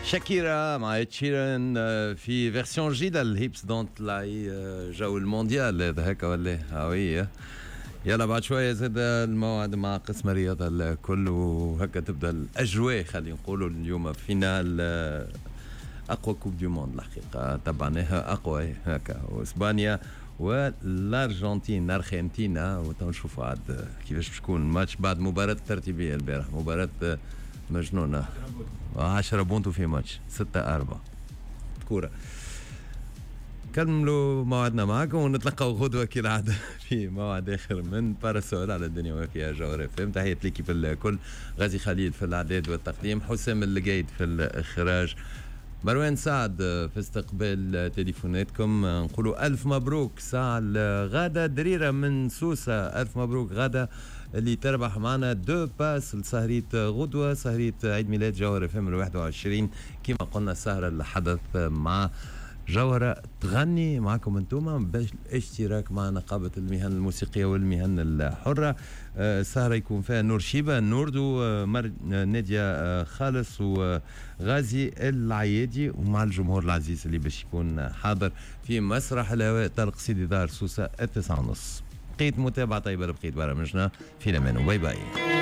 شاكيرا مع إد شيران في version جديدة ال Hips Don't Lie، جو المونديال هذا هكا ولا هاوية. يلا بعد شوية زاد الموعد مع قسم الرياضة الكل، وهكا تبدا الأجواء. خلينا نقولوا اليوم finale أقوى coupe du monde الحقيقة تبعناها، أقوى هكا، وإسبانيا والأرجنتين أرجنتينا، وتنشوفوا عاد كيفاش باش تكون الماتش بعد مباراة الترتيبية البارح، مباراة مجنونة، 10 بونتو في ماتش 6-4 كورة. كملوا موعدنا معكم ونتلقاو غدوة كالعادة في موعد آخر من Parasol على الدنيا وفيها جوهرة اف ام. تحية l'équipe الكل، غازي خليل في الإعداد والتقديم، حسام القايد في الإخراج، مروان سعد في استقبال تليفوناتكم. نقولوا ألف مبروك ساعة غادة دريرة من سوسة، ألف مبروك غادة اللي تربح معنا deux passes لسهرية غدوة، سهرية عيد ميلاد جوهرة اف ام 21، كما قلنا السهرة الحدث مع جوهرة تغني معكم انتم بالاشتراك مع نقابة المهن الموسيقية والمهن الحرة. السهرة يكون فيها نور شيبة، نوردو، نادية خالص وغازي العيادي، ومع الجمهور العزيز اللي باش يكون حاضر في مسرح الهواء طرق سيدي دار سوسة 9:30. بقيت متابعة طيبة لبقية برامجنا في الأمان، bye bye.